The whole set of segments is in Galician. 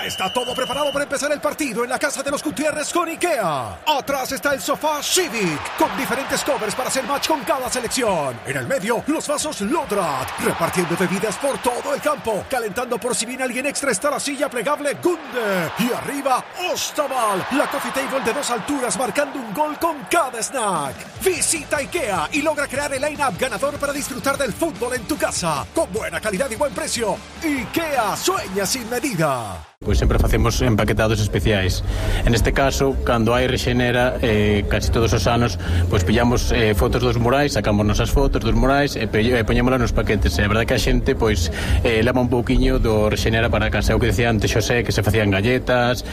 Ya está todo preparado para empezar el partido en la casa de los Gutiérrez con IKEA. Atrás está el sofá Civic, con diferentes covers para hacer match con cada selección. En el medio, los vasos Lodrat, repartiendo bebidas por todo el campo. Calentando por si viene alguien extra está la silla plegable Gunde. Y arriba, Ostaval, la coffee table de 2 alturas marcando un gol con cada snack. Visita IKEA y logra crear el line-up ganador para disfrutar del fútbol en tu casa. Con buena calidad y buen precio. IKEA, sueña sin medida. Pois sempre facemos empaquetados especiais. En este caso, cando hai rexenera, casi todos os anos, pois pillamos fotos dos murais, sacamos nosas fotos dos murais e poñémolas nos paquetes. É verdade que a xente pois leva un pouquiño do rexenera para casa. O que decía antes Xosé, que se facían galletas,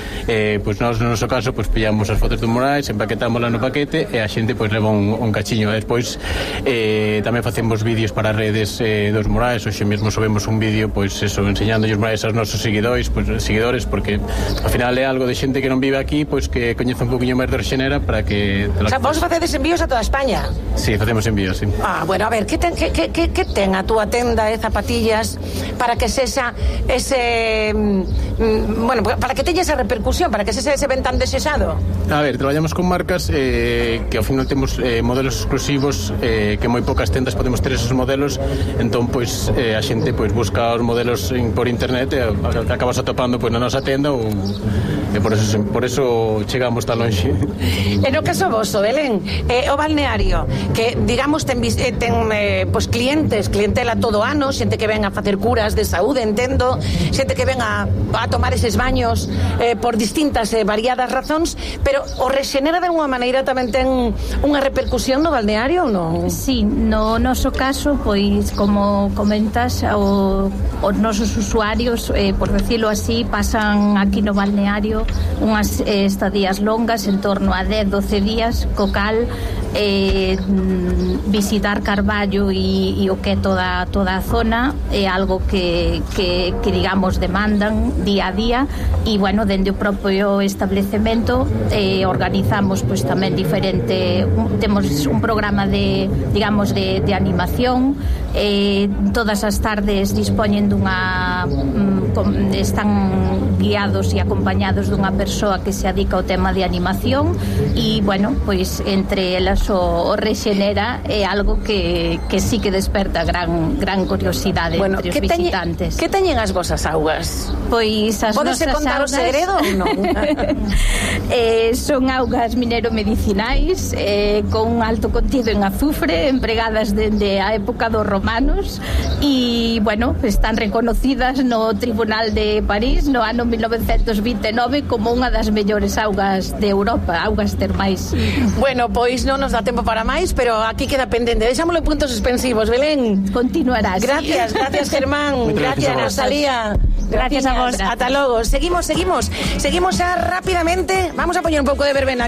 pois nós no noso caso pois pillamos as fotos dos murais, empaquetámolas no paquete e a xente pois leva un cachiño. Despois tamén facemos vídeos para redes dos murais. Hoxe mesmo subimos un vídeo pois eso, enseñando os murais aos nosos seguidores, pois porque ao final é algo de xente que non vive aquí, pois que coñece un poquinho máis de rexenera para que... O sea, vos facedes envíos a toda España? Sí, facemos envíos, sí. Bueno, a ver, que ten a túa tenda de zapatillas para que sexa ese... bueno, para que teña esa repercusión, para que se ven tan desexado? A ver, traballamos con marcas que ao final temos modelos exclusivos que moi poucas tendas podemos ter esos modelos, entón, pois, a xente pois busca os modelos por internet e acabas atopando na nosa tenda e por eso chegamos tan longe. En o caso voso, Belén, o balneario que digamos ten pois clientela todo ano, xente que ven a facer curas de saúde, entendo, xente que ven a tomar eses baños por distintas variadas razóns, pero o rexenera de unha maneira tamén ten unha repercusión no balneario ou non? Sí, no noso caso, pois como comentas, os nosos usuarios, por decirlo así, pasan aquí no balneario unhas estadías longas, en torno a 10-12 días, co cal visitar Carballo e o que é toda a zona é algo que digamos demandan día a día e bueno, dende o propio establecemento organizamos pois tamén temos un programa de digamos de animación, todas as tardes dispoñen están guiados e acompañados dunha persoa que se dedica ao tema de animación e, bueno, pois entre elas o rexenera é algo que sí que desperta gran curiosidade entre os visitantes. Que teñen as vosas augas? Pois as nosas augas... Podese contar o segredo ou non? Son augas mineromedicinais con un alto contido en azufre, empregadas dende a época dos romanos e, bueno, están reconocidas no Tribunal de París no ano 1929 como unha das mellores augas de Europa, augas termais. Bueno, pois non nos dá tempo para máis, pero aquí queda pendente. Deixámoslo en puntos suspensivos, Belén. Continuarás. Gracias, Germán. Gracias, Rosalía. Gracias a vos. Ata logo. Seguimos xa rápidamente. Vamos a poñer un pouco de verbena.